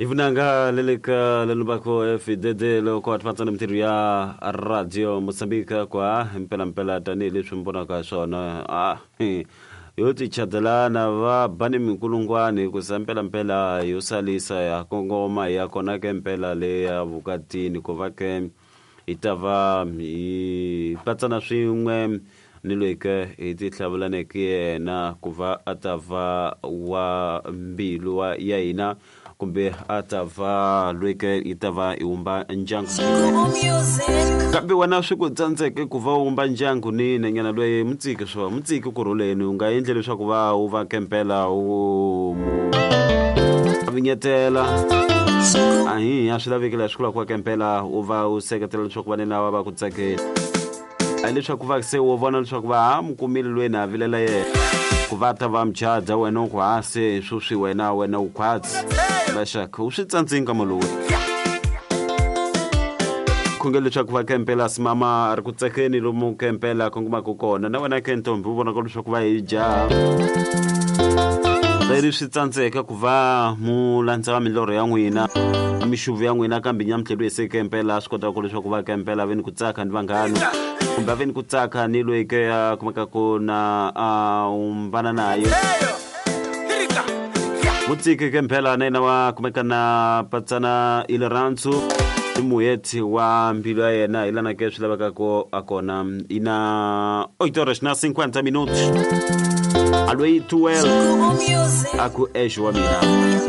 Ivunanga leleka lelubako FDD loko atfatsa mintirho ya Radio Mozambique kwa mpela tanihileswi mi vonaka swona a yo tichadelana va ba ni minkulungwani hikusa mpelampela yo salisa ya kongoma ya kona ke mpela le ya vukatini ku va ke hi ta va hi patsana swin'we ni loyi ke hi ti hlavulaneke yena ku va a ta va wa mbilu wa ya hina kumbe a ta va loyi ke yi ta va hi wumba ndyangu. Kambe wena swi ku tsandzeke ku va u wumba ndyangu ni nanyana loyi mutsiki swo mutsiki ku rhuleni u nga endli leswaku va u va kempela u mu vinyetela ahi a swi laveki laha swi kulaka ku va kempela u va u seketela leswaku va ni lava va ku tsakela a leswaku va se wo vona leswaku va ha mu kumile loyi na vilela yena ku va ta va muchadza wena u ku ha se sweswi wena wena u khwatsi vaxaka u swi tsandzini ka malowu khongela leswaku va kempela simama a ri ku tsakeni lomu kempela kongomaka kona na wena ke ntombi u vonaka leswaku va hi jaha leri swi tsandzeka ku va mu landza milorho ya n'wina mixuvu ya n'wina kambe nyamutlhelo se kempela swi kotaka leswaku va kempela ve ni ku tsaka ni vanghana kumbe a ve ni ku tsaka ni loyi ke a kumeka ku na a umbana naye mutsiki ke mphela na yena wa kumeka na patsana i rirhandzu i muheti wa mbilu ya yena hi lana ke swi lavekaka a kona i na 8 horas na 50 minutos. Aloyi 12 a ku exo wa mina.